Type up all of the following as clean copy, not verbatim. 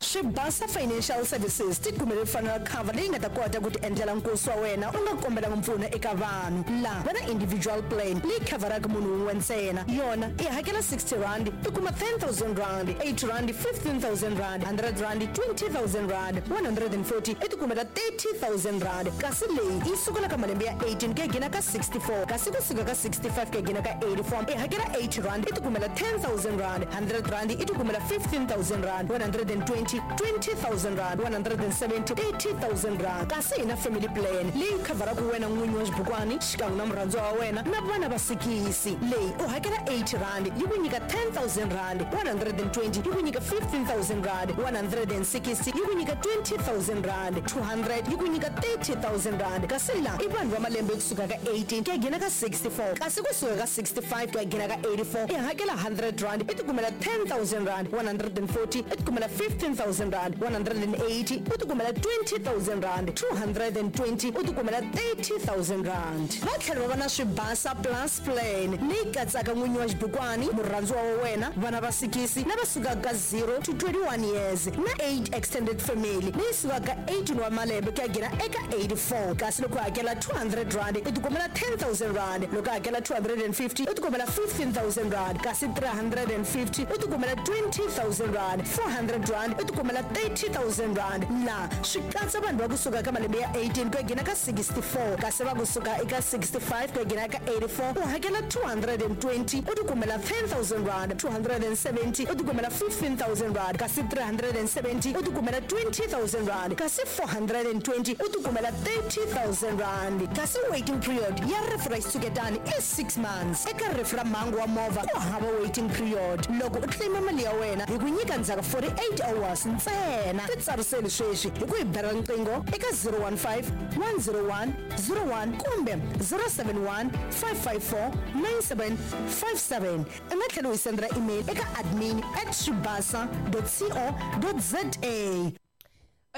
Swibasa Financial Services ti kumele funeral cover leyi nga ta kota ku tiendlela nkosi wa wena u nga kombelanga mpfuno eka vanhu. La va na individual plan leyi khavharaka munhu wun'we ntsena. Yona i hakela R60 i kuma R10,000, R80 R15,000, R100 R20,000, R140 i tikumela R30,000. Kasi leyi yi sukela ka malembe ya 18 ku ya gina ka 64, kasi ku suka ka 65 ku ya gina ka 84 i hakela R80 i tikumela R10,000, R100 i tikumela R15,000, R120 R20,000, R170 R30,000. Kasi hi na family plan leyi khavharaka wena n'winyi wa xibukwani xikan'we na murhandziwa wa wena na vana va sikisi. Leyi u hakela R80 yi ku nyika R10,000, R120 yi ku nyika R15,000, R160 yi ku nyika R20,000, R200 yi ku nyika R30,000. Kasi la i vanhu va malembe kusuka ka 18 ku ya gina ka 64, kasi kusuka ka 65 ku ya gina ka 84 i hakela R100 i tikumela R10,000, R140 i tikumela R15,000, R180 u tikumela R20,000, R220 u tikumela R30,000. Va tlhela va va na Swibasa Plus Plan leyi katsaka n'winyi wa xibukwani, murhandziwa wa wena, vana va sikisi lava sukaka ka 0 to 21 years na 8 extended family leyi sukaka ka 18 wa malembe ku ya gina eka 84. Kasi loko u hakela R200 i tikumela R10,000, loko u hakela R250 u tikumela R15,000, kasi R350 u tikumela R20,000, R400 u tikumela R30,000. La swi katsa vanhu va kusuka ka malembe ya 18 ku ya gina ka 64, kasi va kusuka eka 65 ku ya gina ka 84 u hakela 220 u tikumela R10,000, 270 u tikumela R15,000, kasi 370 u tikumela R20,000, kasi 420 u tikumela R30,000. Kasi waiting period ya rifu ra xitshuketani i 6 months. Eka rifu ra mhangu wa movha ku hava waiting period. Loko u claim mali ya wena hi ku nyika ndzhaku 48 hours ntsena. Titsariseli sweswi hi ku hi bela riqingho eka 015 101 01 kumbe 071 554 9757. U nga tlhela u hi sendela email eka admin@swibasa.co.za.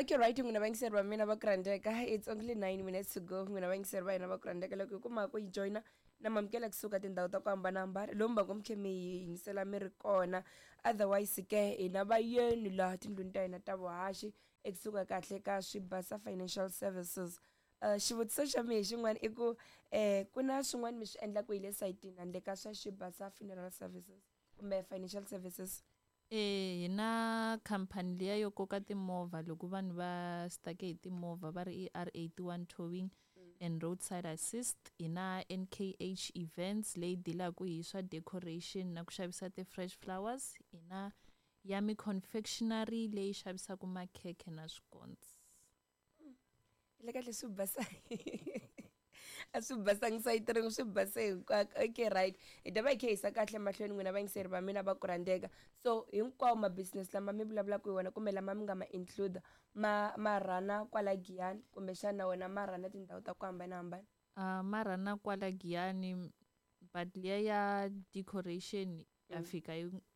Okay, right, n'wina vayingiseri va mina va ku rhandzeka, it's only 9 minutes to go. N'wina vayingiseri va hina va ku rhandzeka, loko hi kuma ku yi joyina na mamukela kusuka tindhawu ta ku hambanahambana lomu va ku mi khe mi yi yingisela mi ri kona. Otherwise ke hina vayeni laha tindlwini ta hina ta vuhaxi ekusuka kahle ka Swibasa Financial Services. Xivutiso xa mehe xin'wana i ku ku na swin'wana mi swi endlaka hi le sayitini handle ka swa Xibasa Funeral Services kumbe Financial Services? E hi na khampani liya yo koka timovha loko vanhu va stuck-e hi timovha va ri i R81 Towing and Roadside Assist. Hi na NKH Events leyi dilaka hi swa decoration na ku xavisa ti-fresh flowers. Hi na Yummy Confectionery leyi xavisaka makhekhe na swikonsi. Le kahle swi basa a swi basangi sayiti rin'we, swi base hinkwako. Okay, right, hi ta va hi kha hi yisa kahle mahlweni n'wina vayingiseri va mina va ku rhandzeka. So hinkwawo ma-business lama mi vulavulaka hi wona kumbe lama mi nga ma include ma rhana kwala Giyani, kumbexana wena ma rhana tindhawu ta ku hambanahambana? Ma rhana kwala Giyani, but liya ya decoration ya fika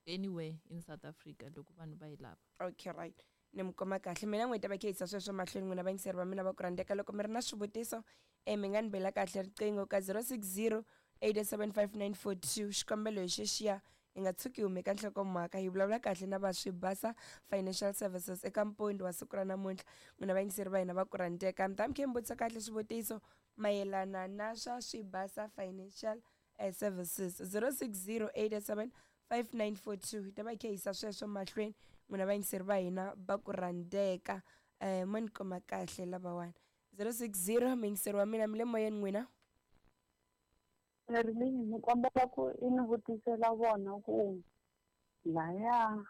anywhere in South Africa loko vanhu va yi lava. Okay, right, ni mi kuma kahle. Mina n'wi ta va khe yisa sweswo mahlweni n'wina vayingiseri va mina va ku rhandzeka. Loko mi ri na swivutiso mi nga ni bela kahle riqingho ka 060 875 942. Xikombelo hi xexiya, hi nga tshuki hume ka nhlokomhaka. Hi vulavula kahle na va Swibasa Financial Services eka mpondi wa siku ra namuntlha. N'wina vayingiseri va hina va ku rhandzeka, mi ta mi khe mi vutisa kahle swivutiso mayelana na swa Swibasa Financial Services, 060 87 5942. Hi ta va hi kha hi yisa sweswo mahlweni n'wina vayingiseri va hina va ku rhandzeka. Mo ni kuma kahle lavawani 060. Muyingiseri wa mina, mi le moyeni n'wina. Rini ni kombela ku i ni vutisela vona ku laya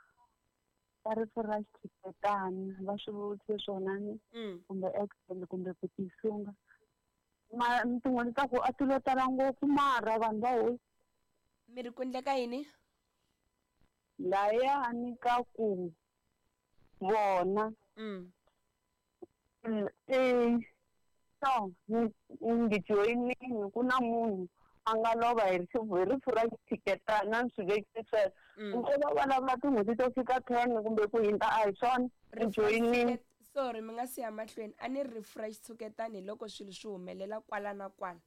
ka rifu ra xitshuketani va swi vutise swona ni kumbe accident kumbe ku tisunga ma tin'hweti ta ku a ti lo tala ngopfu mara vanhu va hosi. Mi ri ku endleka yini? Layani ka ku vona so ni joyinini ku na munhu a nga lova hi rifu ra xitshuketana, ni swi vekise sweswo. Ku va vulavula tin'hweti to fika 10 kumbe ku hundza, a hi swona ni joyinini. Sorry, mi nga siya mahlweni, a ni rifu ra xitshuketani hi loko swilo swi humelela kwala na kwala.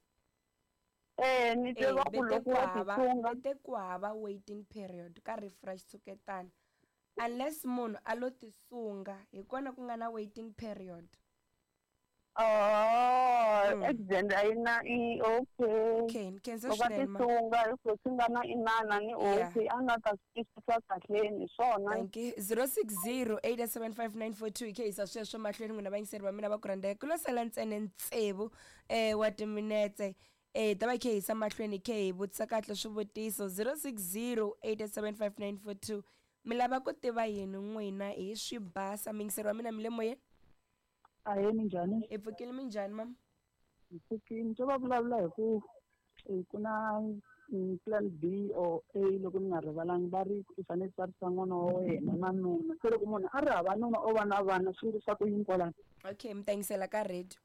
Ni twe va ku loko wa tisunga te ku hava waiting period ka rifu ra xitshuketana. Unless munhu a lo tisunga, hi kona ku nga na waiting period. Oh, accident a yi na i okay. Okay, ni khensa Loko a swinene ma. tisunga hi ku swi nga na inana ni okay, a nga ta swi twisisa kahleni swona. Thank you. 060 875 942 hi khe yisa sweswo mahlweni, n'wina vayingiseri va mina va ku rhandzeka. Ku lo sala ntsena tsevu wa timinetse, hi ta va hi khe hi yisa mahlweni, hi khe hi vutisa kahle swivutiso. 060 875 942, mi lava ku tiva yini n'wina hi swibasa? Muyingiseri wa mina, mi le moyeni. Ahee, minjhani? Hi pfukile, minjhani mama? Hi pfukile. To va vulavula hi ku ku na plan B or A, loko ni nga rivalangi, va ri i fanele tsarisa n'wana wa wena na nuna. Se loko munhu a ri hava nuna, o va na vana, swi endlisa ku yini kwalano? Okay, mi ta yingisela ka radio.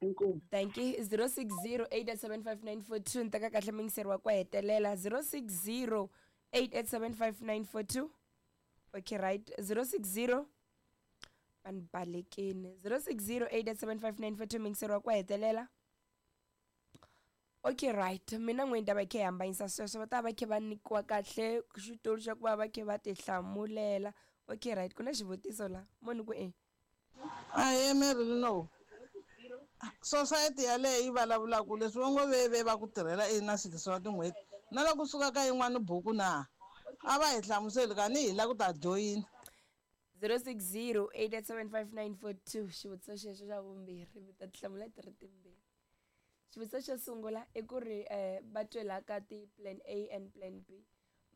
Inkomu. Thank you. 060 875 942, ni teka kahle muyingiseri wa ku hetelela. 060 875 942. Okay, right, 060, va ni balekini. 060 875 942, muyingiseri wa ku hetelela. Okay, right, mina n'wini ta va khe hi hambanyisa sweswo, va ta va khe va nyikiwa kahle xitulu xa ku va va khe va tihlamulela. Okay, right, ku na xivutiso la munhu ku e Ahee, Mary. No society yaleyo yi vulavulaka leswi va ngo ve va ku tirhela i na swilo swa tin'hweti na loko suka ka yin'wani buku na a va hi hlamuseli kani hi la ku ta joyina. 060 875 942. Xivutiso xexo xa vumbirhi, mi ta tihlamula ti ri timbirhi. Xivutiso xo sungula i ku ri va twela ka ti-plan A and plan B,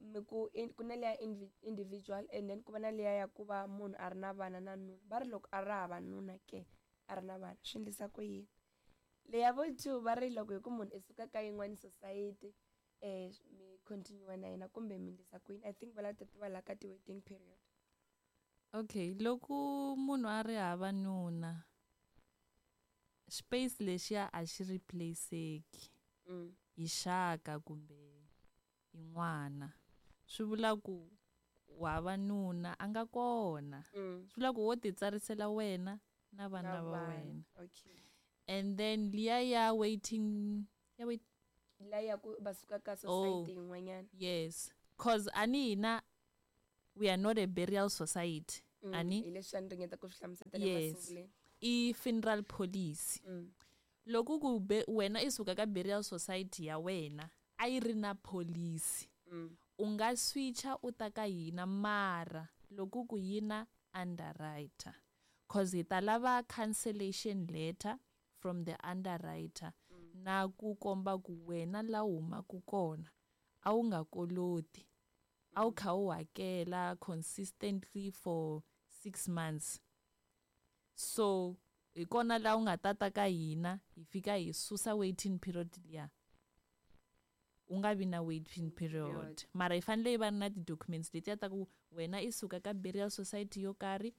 mi ku ku na leya individual and then ku va na leya ya ku va munhu a ri na vana na nuna. Va ri loko a ri hava nuna ke, a ri na vana, swi endlisa ku yini? Leya vo two, va ri loko hi ku munhu i suka ka yin'wani society, mi continue na yena kumbe mi endlisa ku yini? I think va lava ta tiva la ka ti-waiting period. Okay, loko munhu a ri hava nuna, space lexiya a xi replaceki hi xaka kumbe hi n'wana. Swi vula ku u hava nuna, a nga kona. Swi vula ku wo titsarisela wena na vana Na va vana. wena. And then liya ya waiting ya wait La ya ku va suka ka Oh. society yin'wanyana. Yes, cause ani hina we are not a burial society. Ani Hi leswi a ni ringeta ku swi hlamusela Yes. emasunguleni. I funeral policy. Loko ku be wena i suka ka burial society ya wena, a yi ri na policy, u nga switcha u ta ka hina, mara loko ku yi na underwriter, cause hi ta lava cancellation letter from the underwriter na ku komba ku wena la u humaka kona a wu nga koloti, a wu kha u hakela consistently for 6 months. So hi kona laha u nga tata ka hina, hi fika hi susa waiting period liya, u nga vi na waiting period. Period. Mara hi fanele hi va na ti-documents letiya ta ku wena i suka ka burial society yo karhi,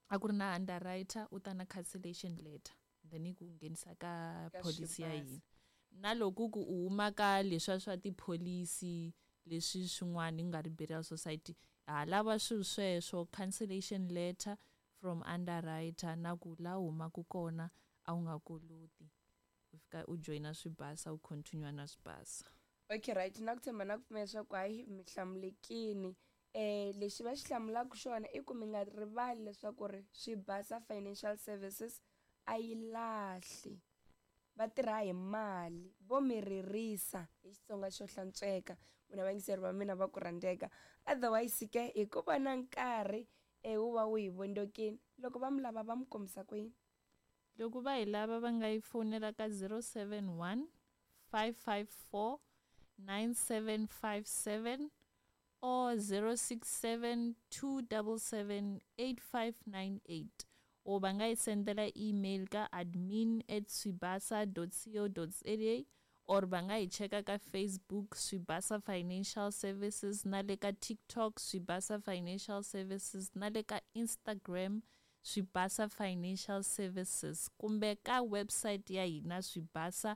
a ku ri na underwriter, u ta na cancellation letter, then yi ku nghenisa ka Ka policy ya Swibasa. hina. Na loko ku u huma ka leswiya swa tipholisi leswi swin'wana, ku nga ri burial society, ha lava swilo sweswo, cancellation letter from underwriter na ku la u humaka kona a wu nga koloti, u fika u joyina swibasa, u continue na swibasa. Okay, right, na ku tshemba na ku pfumela leswaku hayi, mi hlamulekini. Lexi va xi hlamulaka xona i ku mi nga rivali leswaku ri Swibasa Financial Services a yi lahli, va tirha hi mali, vo mi ririsa hi Xitsonga xo hlantsweka, n'wina vayingiseri va mina va ku rhandzeka. Otherwise ke, hi ku va na nkarhi wu va wu hi vondzokile, loko va mi lava va mi kombisa ku yini? Loko va hi lava, va nga yi fonela ka 071 554 9757 or 067 277 8598, or va nga yi sendela email ka admin@swibasa.co.za, or va nga hi cheka ka Facebook, Swibasa Financial Services, na le ka TikTok, Swibasa Financial Services, na le ka Instagram, Swibasa Financial Services, kumbe ka website ya hina, swibasa.co.za.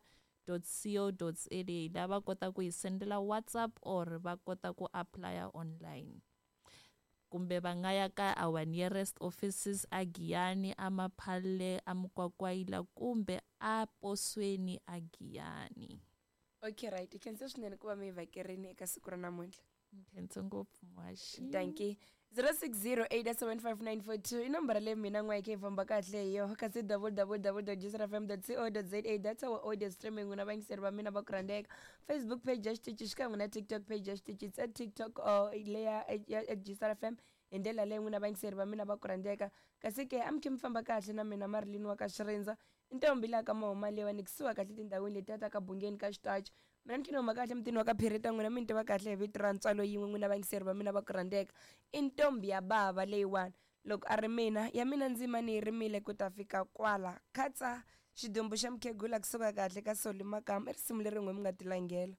La va kota ku hi sendela WhatsApp or va kota ku applya online, kumbe va nga ya ka our nearest offices a Giyani, aMaphalle, aMukwakwayila, kumbe a Posweni a Giyani. Okay, right, hi khensa swinene ku va mi hi vhakerini eka siku ra namuntlha. Nkhensa ngopfu muhaxi. Danki. 0608755942 i nomboro leyi mina n'wa yi kha yi famba kahle hi yoho, kasi www.jcrfm.co.za, that's our audio streaming. N'wina vayingiseri va mina va ku rhandzeka, Facebook page ya xitichi xikan'we na TikTok page ya xitichi, it's at TikTok or leya at GCRFM. Hi ndlela leyi n'wina vayingiseri va mina va ku rhandzeka, kasi ke a mi khe mi famba kahle na mina Marilyn wa ka Xirindza, i ntombi laha ka mahuma leyiwa ni kusuka kahle tindhawini letiya ta ka Bungeni ka Xitachi. Mina ni khe ni huma kahle mutini wa ka Phirita, n'wina mi ni tiva kahle hi vito ra ntswalo yin'we. N'wina vayingiseri va mina va ku rhandzeka, i ntombi ya bava leyiwani. Loko a ri mina, ya mina ndzima ni yi rimile ku ta fika kwala khatsa xidumbu xa mukhegula kusuka kahle ka Soli Makamu, i risimu leri n'we mi nga tilangela.